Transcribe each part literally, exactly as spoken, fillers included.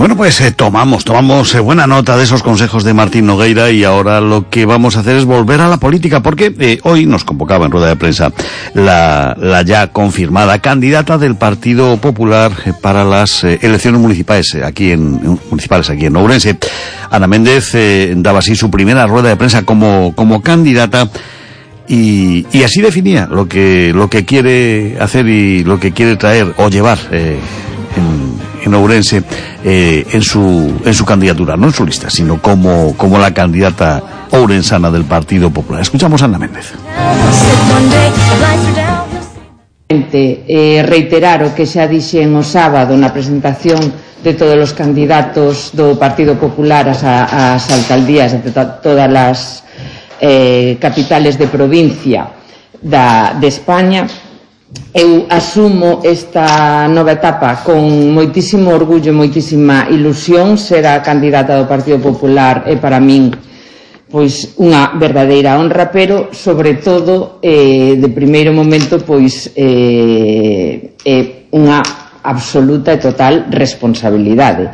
Bueno, pues eh, tomamos, tomamos eh, buena nota de esos consejos de Martín Nogueira, y ahora lo que vamos a hacer es volver a la política, porque eh, hoy nos convocaba en rueda de prensa la, la ya confirmada candidata del Partido Popular eh, para las eh, elecciones municipales eh, aquí en municipales aquí en Ourense. Ana Méndez eh, daba así su primera rueda de prensa como como candidata. Y, y así definía lo que lo que quiere hacer y lo que quiere traer o llevar eh, en, en Ourense eh, en su en su candidatura, no en su lista, sino como como la candidata ourensana del Partido Popular. Escuchamos a Ana Méndez. Eh, reiterar o que xa dixen o sábado na presentación de todos os candidatos do Partido Popular ás, ás alcaldías de to todas as eh, capitales de provincia da, de España. Eu asumo esta nova etapa con moitísimo orgullo e moitísima ilusión. Ser a candidata do Partido Popular é para min pois unha verdadeira honra, pero sobre todo eh, de primeiro momento pois eh, é unha absoluta e total responsabilidade.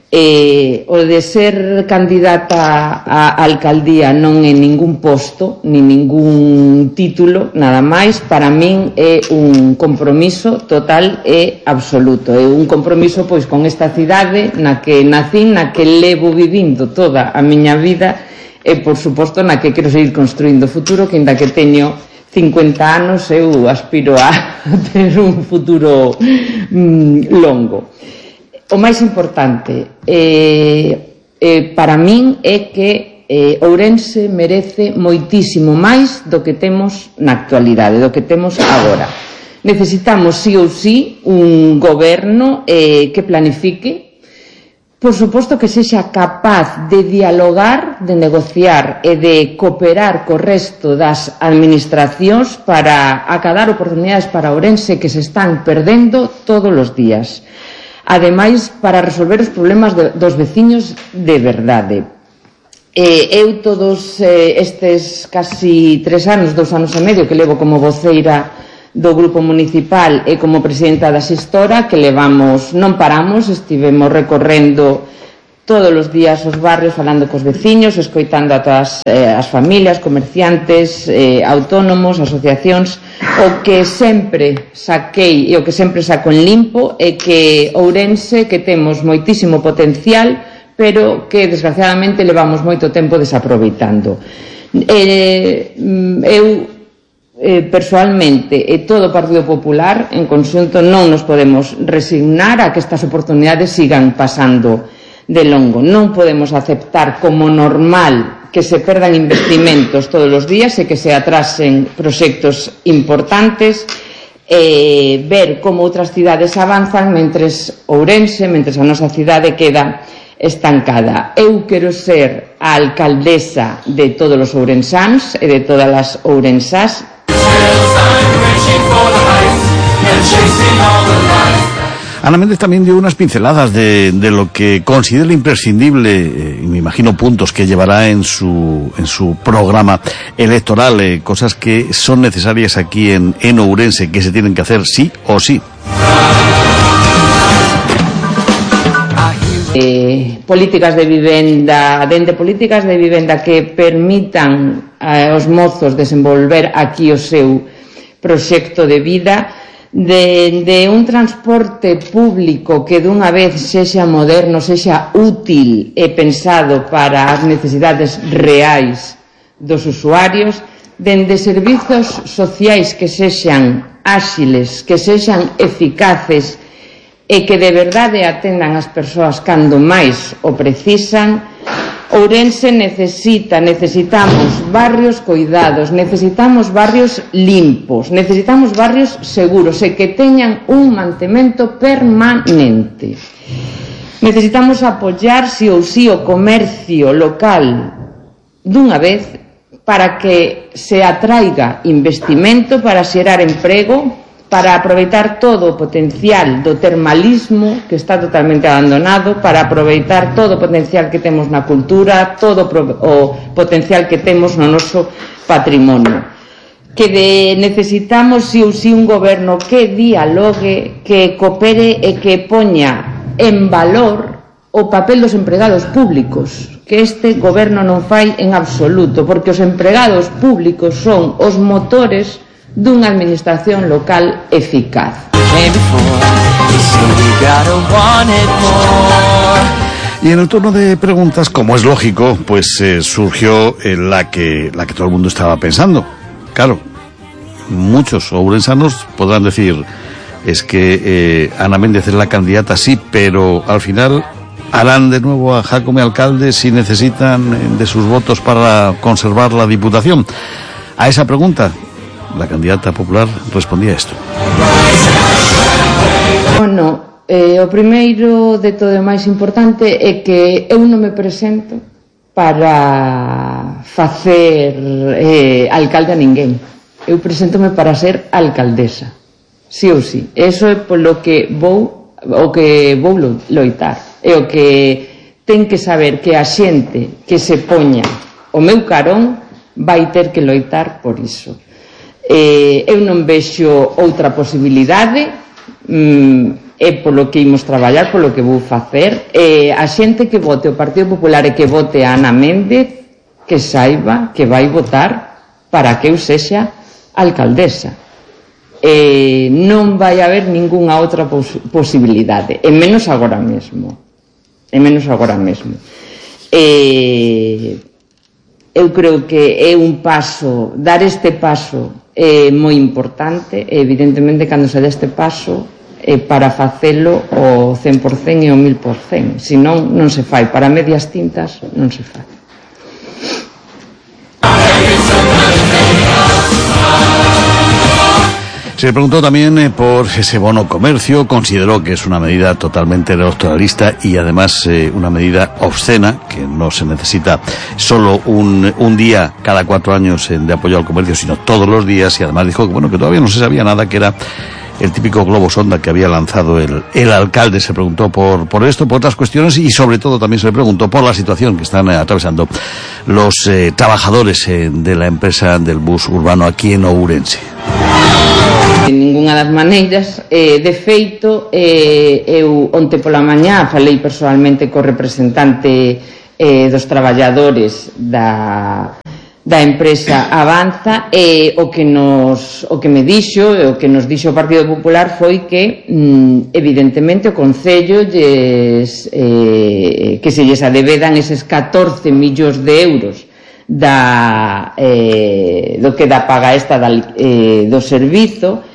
Eh, o de ser candidata a alcaldía non é ningún posto ni ningún título, nada máis. Para min é un compromiso total e absoluto, é un compromiso pois con esta cidade na que nacín, na que levo vivindo toda a miña vida e, por suposto, na que quero seguir construindo o futuro, que ainda que teño cincuenta anos, eu aspiro a ter un futuro mm, longo. O máis importante eh, eh, para min é que eh, Ourense merece moitísimo máis do que temos na actualidade, do que temos agora. Necesitamos, sí ou sí, un goberno eh, que planifique, por suposto que sexa capaz de dialogar, de negociar e de cooperar co resto das administracións para acadar oportunidades para Ourense que se están perdendo todos os días. Ademais, para resolver os problemas de, dos veciños de verdade. Eh, eu todos eh, estes casi tres anos, dous anos e medio que levo como voceira do grupo municipal e como presidenta da xestora, que levamos, non paramos, estivemos recorrendo todos os días os barrios, falando cos veciños, escoitando a todas eh, as familias, comerciantes, eh, autónomos, asociacións. O que sempre saquei e o que sempre saco en limpo é que Ourense, que temos moitísimo potencial, pero que desgraciadamente levamos moito tempo desaproveitando. Eh, eu Eh, personalmente e todo o Partido Popular en conxunto non nos podemos resignar a que estas oportunidades sigan pasando de longo. Non podemos aceptar como normal que se perdan investimentos todos os días e que se atrasen proxectos importantes, eh, ver como outras cidades avanzan mentres Ourense, mentres a nosa cidade queda estancada. Eu quero ser a alcaldesa de todos os ourensáns e de todas as ourensás. Ana Méndez también dio unas pinceladas de, de lo que considera imprescindible, eh, y me imagino puntos que llevará en su en su programa electoral, eh, cosas que son necesarias aquí en, en Ourense, que se tienen que hacer sí o sí. Eh, políticas de vivenda, dende políticas de vivenda que permitan eh, aos mozos desenvolver aquí o seu proxecto de vida, de, de un transporte público que dunha vez sexa moderno, sexa útil e pensado para as necesidades reais dos usuarios, dende servizos sociais que sexan áxiles, que sexan eficaces e que de verdade atendan as persoas cando máis o precisan. Ourense necesita, necesitamos barrios coidados, necesitamos barrios limpos, necesitamos barrios seguros e que teñan un mantemento permanente. Necesitamos apoiar sí ou sí o comercio local dunha vez para que se atraiga investimento, para xerar emprego, para aproveitar todo o potencial do termalismo que está totalmente abandonado, para aproveitar todo o potencial que temos na cultura, todo o potencial que temos no noso patrimonio. Que de, necesitamos si ou si un goberno que dialogue, que coopere e que poña en valor o papel dos empregados públicos, que este goberno non fai en absoluto, porque os empregados públicos son os motores dunha administración local eficaz. Y en el turno de preguntas, como es lógico, pues eh, surgió eh, la que la que todo el mundo estaba pensando. Claro, muchos ourensanos podrán decir, es que eh, Ana Méndez es la candidata, sí, pero al final harán de nuevo a Jácome alcalde si necesitan de sus votos para conservar la diputación. A esa pregunta, la candidata popular respondía esto. Bueno, eh, o primeiro de todo o máis importante é que eu non me presento para facer eh, alcalde a ninguén. Eu preséntome para ser alcaldesa, sí ou sí. Eso é polo que vou, o que vou loitar. É o que ten que saber que a xente que se poña o meu carón vai ter que loitar por iso. Eh, eu non vexo outra posibilidade, mm, é polo que imos traballar, polo que vou facer. Eh, a xente que vote o Partido Popular e que vote a Ana Méndez, que saiba que vai votar para que eu sexa alcaldesa. Eh, non vai haber ningunha outra pos posibilidade, e menos agora mesmo. E menos agora mesmo. Eh, eu creo que é un paso, dar este paso é moi importante, e evidentemente cando se dá este paso e para facelo o cen por cen e o mil por cen, senón non se fai, para medias tintas non se fai. Se le preguntó también eh, por ese bono comercio. Consideró que es una medida totalmente electoralista y además eh, una medida obscena, que no se necesita solo un, un día cada cuatro años eh, de apoyo al comercio, sino todos los días. Y además dijo que bueno, que todavía no se sabía nada, que era el típico globo sonda que había lanzado el, el alcalde. Se preguntó por, por esto, por otras cuestiones, y sobre todo también se le preguntó por la situación que están eh, atravesando los eh, trabajadores eh, de la empresa del bus urbano aquí en Ourense. De ninguna das maneiras, eh, de feito, eh, eu onte pola mañá falei personalmente co representante eh, dos traballadores da, da empresa Avanza, e o que nos o que me dixo, o que nos dixo o Partido Popular foi que mm, evidentemente o Concello lles, eh, que se lles adevedan eses catorce millóns de euros da, eh, do que da paga esta da, eh, do servizo.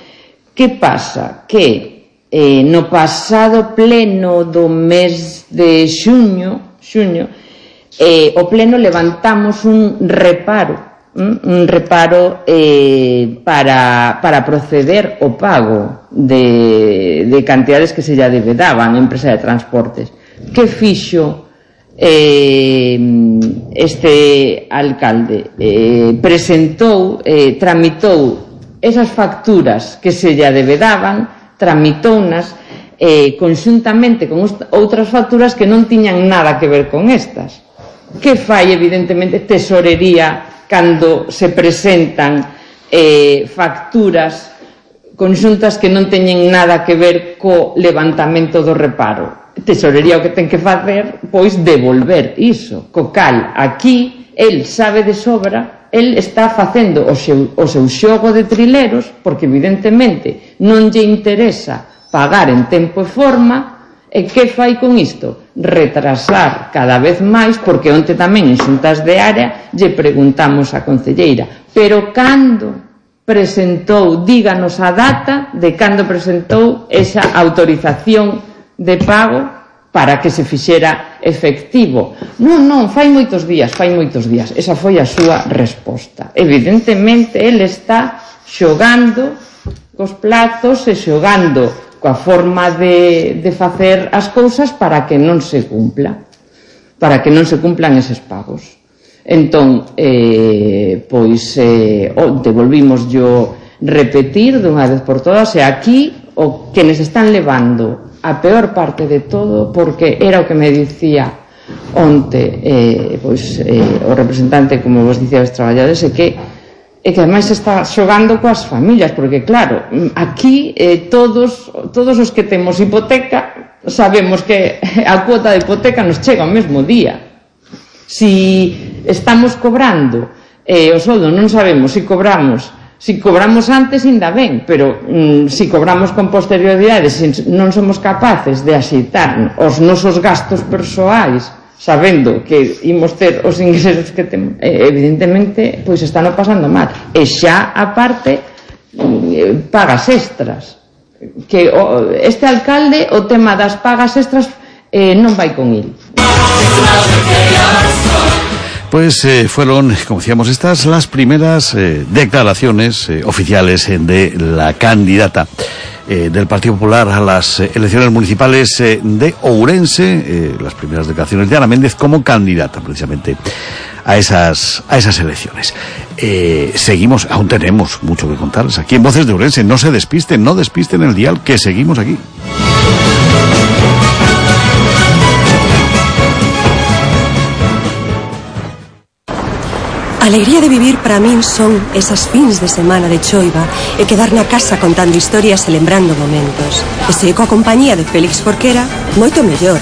Que pasa? Que eh, no pasado pleno do mes de xuño, xuño eh, o pleno levantamos un reparo, ¿m? un reparo eh, para, para proceder ao pago de, de cantidades que se lla debedaban a empresa de transportes. Que fixo eh, este alcalde? Eh, presentou, eh, tramitou esas facturas que se lle debedaban, tramitounas eh, conxuntamente con outras facturas que non tiñan nada que ver con estas. Que fai, evidentemente, tesorería cando se presentan eh, facturas conxuntas que non teñen nada que ver co levantamento do reparo? Tesorería o que ten que facer, pois, devolver iso. Co cal, aquí, el sabe de sobra, el está facendo o seu, o seu xogo de trileros, porque evidentemente non lle interesa pagar en tempo e forma. E que fai con isto? Retrasar cada vez máis, porque onte tamén en xuntas de área lle preguntamos á concelleira, pero cando presentou, díganos a data de cando presentou esa autorización de pago para que se fixera efectivo. Non, non, fai moitos días, fai moitos días. Esa foi a súa resposta. Evidentemente, ele está xogando cos plazos e xogando coa forma de, de facer as cousas para que non se cumpla, para que non se cumplan eses pagos. Entón, eh, pois, eh, onte volvimos yo repetir dunha vez por todas, e aquí o que nos están levando a peor parte de todo, porque era o que me dicía onte eh, pois, eh, o representante, como vos dicía, os traballadores, é que e que ademais está xogando coas familias, porque claro, aquí eh, todos todos os que temos hipoteca sabemos que a cuota de hipoteca nos chega ao mesmo día. Si estamos cobrando eh, o soldo, non sabemos se cobramos si cobramos antes, ainda ben, pero mm, si cobramos con posterioridade, se non somos capaces de axeitar os nosos gastos persoais, sabendo que imos ter os ingresos que temos, eh, evidentemente, pois están pasando mal. E xa, aparte, eh, pagas extras. Que o, este alcalde, o tema das pagas extras, eh, non vai con il. Pues eh, fueron, como decíamos, estas las primeras eh, declaraciones eh, oficiales eh, de la candidata eh, del Partido Popular a las eh, elecciones municipales eh, de Ourense, eh, las primeras declaraciones de Ana Méndez como candidata precisamente a esas, a esas elecciones. Eh, seguimos, aún tenemos mucho que contarles aquí en Voces de Ourense. No se despisten, no despisten el dial, que seguimos aquí. A alegría de vivir para min son esas fins de semana de choiva e quedar na casa contando historias e lembrando momentos. E se coa compañía de Félix Jorquera, moito mellor.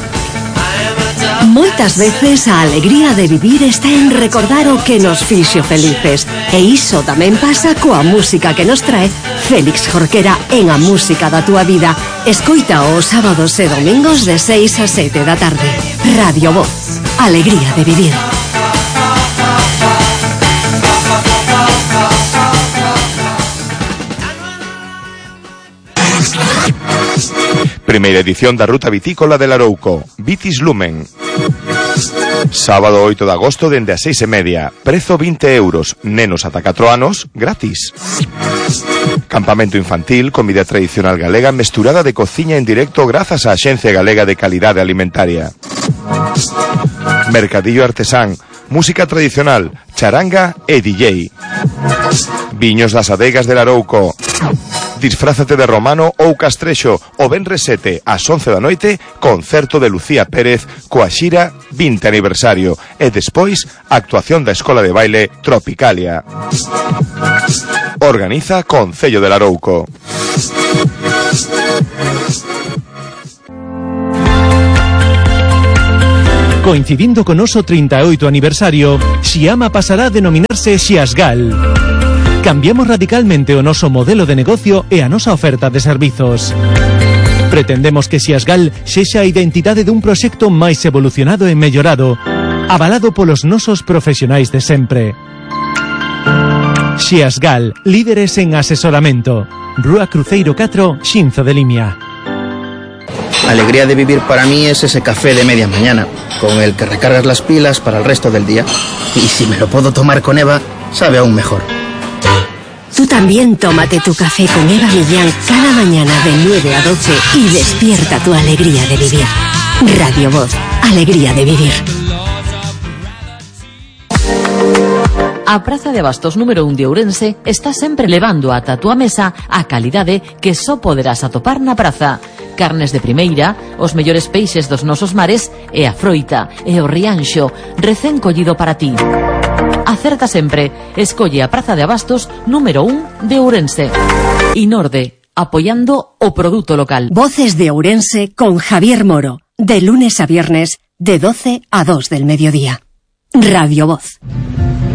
Moitas veces a alegría de vivir está en recordar o que nos fixo felices. E iso tamén pasa coa música que nos trae Félix Jorquera en A Música da Túa Vida. Escoita os sábados e domingos de seis a sete da tarde. Radio Voz. Alegría de vivir. Primeira edición da Ruta Vitícola de Larouco, Vitis Lumen. Sábado oito de agosto dende as seis e media, prezo vinte euros, nenos ata catro anos, gratis. Campamento infantil, comida tradicional galega mesturada de cociña en directo grazas á Axencia Galega de Calidade Alimentaria. Mercadillo artesán, música tradicional, charanga e D J. Viños das adegas de Larouco. Disfrázate de romano ou castrexo o venres sete ás once da noite, concerto de Lucía Pérez coa xira vinte aniversario e despois actuación da Escola de Baile Tropicalia. Organiza Concello de Larouco. Coincidindo con noso trinta e oito aniversario, Xiama pasará a denominarse Xiasgal. Cambiamos radicalmente o noso modelo de negocio e a nosa oferta de servizos. Pretendemos que Xiasgal sexa a identidade dun proxecto máis evolucionado e mellorado, avalado polos nosos profesionais de sempre. Xiasgal, líderes en asesoramento. Rúa Cruceiro catro, Xinzo de Limia. Alegría de vivir para mí es ese café de media mañana, con el que recargas las pilas para el resto del día. Y si me lo puedo tomar con Eva, sabe aún mejor. Tú también tómate tu café con Eva Millán cada mañana de nueve a doce y despierta tu alegría de vivir. Radio Voz, alegría de vivir. A Praza de Abastos número un de Ourense está sempre levando ata a túa mesa a calidade que só poderás atopar na praza. Carnes de primeira, os mellores peixes dos nosos mares e a froita e o rianxo recén collido para ti. Acerta sempre, escolle a Praza de Abastos número un de Ourense. Inorde, apoyando o produto local. Voces de Ourense con Javier Moro, de lunes a viernes, de doce a dos del mediodía. Radio Voz.